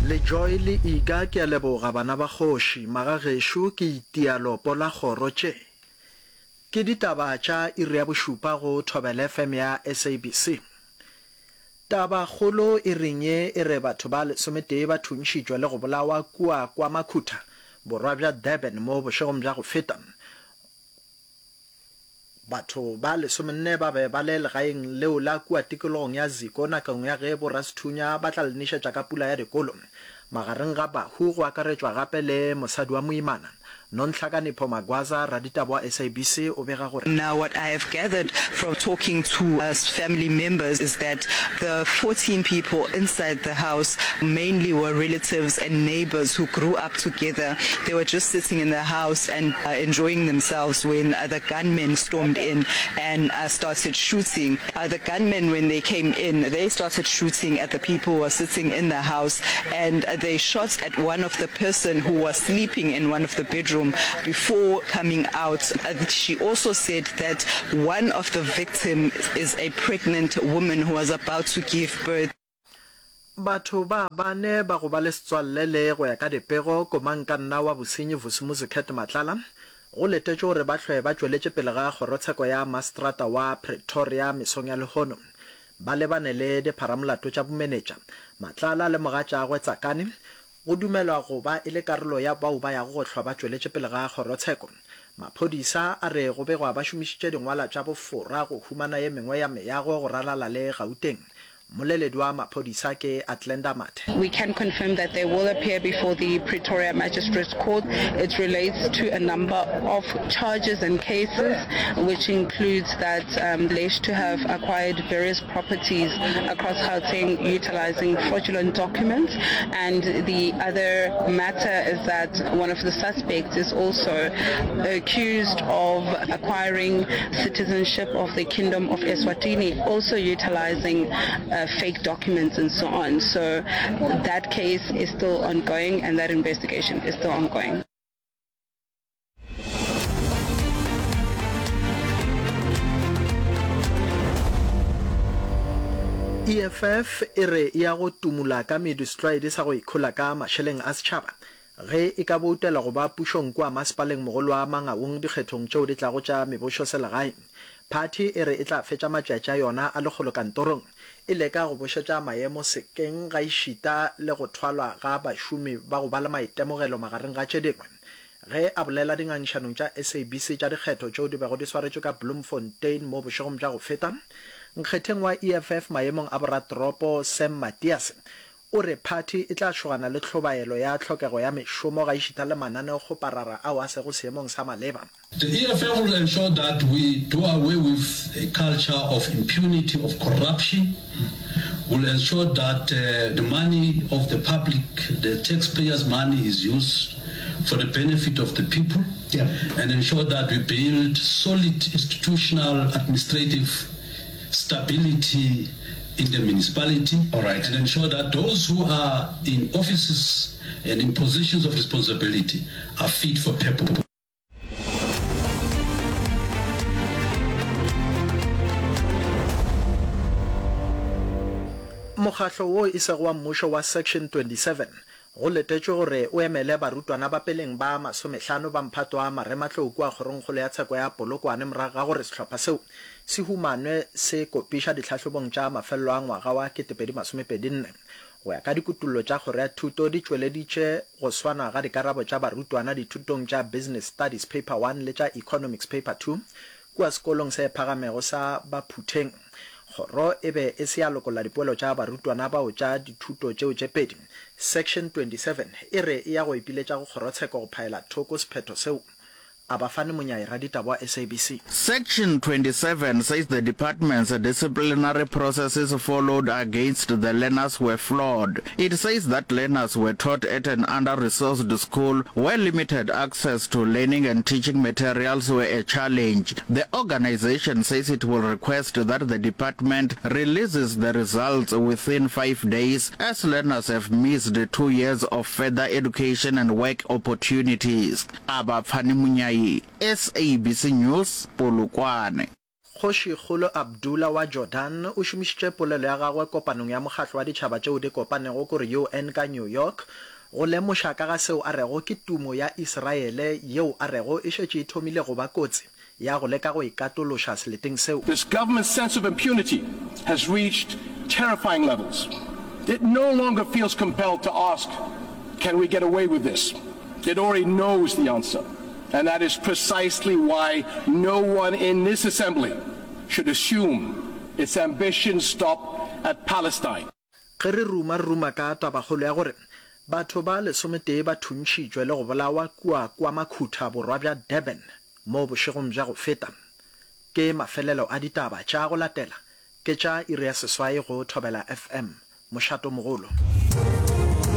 Le Joy le Iga ke a leboga bana ba kgoši, magagešo ke itia lopo la kgoro tše. Ke ditaba tša iri ya bošupa go Thobela FM ya SABC. Taba kgolo iring ye e re batho ba lesometee ba thuntšhitšwe le go bolawa kua KwaMakhutha, borwa bja Durban mo bošegong bja go feta. Batho ba lesomenne ba be ba le legaeng leo la kua tikologong ya Ziko nakong ya ge borasethunya ba tla le nešetša ka pula ya dikolo. Magareng ga bahu go akaretšwa gape le mosadi wa moimana. Nonhlakanipho Magwaza, raditaba wa SABC o bega gore. Now what I have gathered from talking to family members is that the 14 people inside the house mainly were relatives and neighbors who grew up together. They were just sitting in the house and enjoying themselves when the gunmen stormed in and started shooting. The gunmen when they came in, they started shooting at the people who were sitting in the house and they shot at one of the person who was sleeping in one of the bedroom before coming out. She also said that one of the victim is a pregnant woman who was about to give birth. Batho ba bane ba go ba le setswalle le, go ya ka dipego, komangkanna wa bosenyi Vusimuzi Cat Matlala, go letetšwe gore ba hlwe ba tšweletše pele ga kgorotsheko ya maseterata wa Pretoria mesong ya lehono. Ba lebane le dipharamolato tša bomenetša. Matlala le mogatšagwe Tsakani go dumelwa go ba e le karolo ya bao ba yago go hlwa ba tšweletše pele ga kgorotsheko. Maphodisa a re go begwa ba šomišitše dingwala tša bofora go humana ye mengwe ya meago go ralala le Gauteng. Mmoleledi wa maphodisa ke Athlenda Mathe. We can confirm that they will appear before the Pretoria Magistrates Court. It relates to a number of charges and cases, which includes that alleged to have acquired various properties across Gauteng utilizing fraudulent documents. And the other matter is that one of the suspects is also accused of acquiring citizenship of the Kingdom of Eswatini, also utilizing uh, fake documents and so on. So that case is still ongoing and that investigation is still ongoing. EFF e re e ya go tumula ka medu setlwaedi sa go ikhola ka mašeleng a setšhaba ge e ka boutela go ba pušong kua masepaleng mogolo wa Mangaung dikgethong tšeo di tlago tša mebošoselegae. Phathi e re e tla fetša matšatši a yona a lekgolo kantorong e leka go bošetša maemo sekeng gaešita le go thwalwa ga bašomi ba go ba le maitemogelo magareng ga tše dingwe. Ge a bolela dingangišanong tša SABC tša dikgetho tšeo di bego di swaretšwe ka Bloemfontein mo bošegong bja go feta, nkgetheng wa EFF maemong a boratoropo Sam Matiase o re phathi e tla šogana le hlobaelo ya tlhokego ya mešomo gaešita le mananeokgoparara ao a sego seemong sa maleba. The EFF will ensure that we do away with a culture of impunity, of corruption, will ensure that the money of the public, the taxpayers' money is used for the benefit of the people and ensure that we build solid institutional administrative stability in the municipality and ensure that those who are in offices and in positions of responsibility are fit for purpose. Mokgahlo wo e sego wa mmušo wa Section 27 go letetšwe gore o emele barutwana ba peleng ba masomehlano ba mphato wa marematlou kua Kgorongkgolo ya Tsheko ya Polokwane morago ga gore sehlopha seo se humanwe se kopiša dihlahlobong tša mafelelo a ngwaga wa 2024. Go ya ka dikutollo tša Kgoro ya Thuto di tšweleditše go swana ga dikarabo tša barutwana dithutong tša Business Studies Paper One le tša Economics Paper Two kua sekolong se phagamego sa Baphutheng. Kgoro e be e se ya lokolla dipoelo tša barutwana bao tša dithuto tšeo tše pedi. Section 27 e re e ya go ipiletša go kgorotsheko go phaela thoko sephetho seo. Abafani Monyai, raditaba wa SABC. Section 27 says the department's disciplinary processes followed against the learners were flawed. It says that learners were taught at an under-resourced school where limited access to learning and teaching materials were a challenge. The organization says it will request that the department releases the results within five days as learners have missed two years of further education and work opportunities. Abapfani Munyai, SABC News, Polokwane. Kgošikgolo Abdullah wa Jordan o šomišitše polelo ya gagwe kopanong ya Mokgatlo wa Ditšhaba tšeo di Kopanego kore UN ka New York go lemoša ka ga seo a rego ke tumo ya Israele yeo a rego e šetše e thomile go ba kotsi ya go leka go ikatološa seleteng seo. This government's sense of impunity has reached terrifying levels. It no longer feels compelled to ask, Can we get away with this? It already knows the answer. And that is precisely why no one in this assembly should assume its ambitions stop at Palestine. Ge re ruma, re ruma ka tabakgolo ya gore batho ba lesometee ba thuntšhitšwe le go bolawa kua KwaMakhutha, borwa bja Durban, mo bošegong bja go feta. Ke mafelelo a ditaba tša go latela ke tša iri ya seswai go Thobela FM, mošatomogolo.